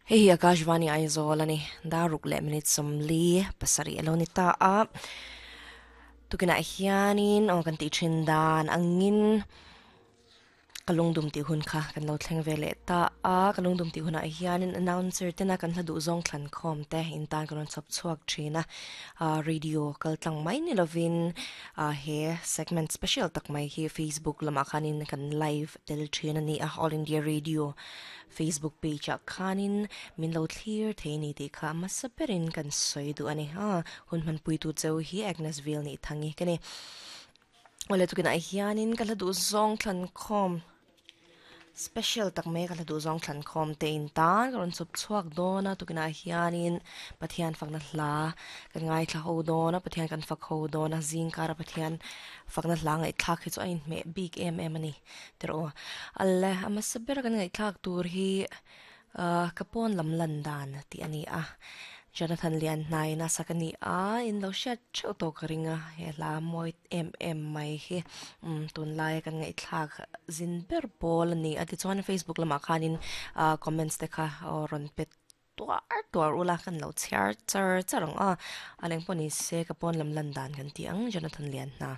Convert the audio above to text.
Hei hi Akashvani Aizawl a ni. Dar ruk leh minute 47 a lo ni ta a. Tukinah hianin aw kan tih thin dan angin ka lungdum tih hun kha kan lo thleng ve leh ta a. Ka lungdum tih hunah hianin announcer tena kan hla duh zawng thlan khawm te in tan kan rawn chhawp chhuak thin a. Radio kal tlang mai ni lovin he segment special tak mai hi Facebook lamah khanin kan live tel thin a ni a. All India Radio Facebook page ah khanin min lo thlir thei ni tih kha hmasa berin kan sawi duh a ni. Aa hun hmanpuitu cheu hi Agnes Vil nih thangi ka ni. Awle tukinah hianin ka hla duh zawng thlan khawm special tak mai ka hla duh zawng thlan khawm te in tan ka rawn chawp chhuak dawn a tukinah hianin Pathian fakna hla kan ngaithla ho dawn a Pathian kan fak ho dawn a zingkara Pathian fakna hla ngaihthlak hi chu a inhmeh bik em em a ni. Tiraw alle a hmasa ber kan ngaihthlak tur hi ahh ka pawn lam lan dan tih a ni a Jonathan Lianhnai in a sak a ni a in lo hriat theuh tawh ka ring a he hla mawi em em mai hi umm tunlaia kan ngaihthlak zin ber pawl a ni a tichuan Facebook lamah khanin ahh comments te kha aw rawn pe tuar tuar ula kan lo chhiar char char ang a a leng pawh ni se ka pawn lam lan dan kan tih ang Jonathan Lianhna.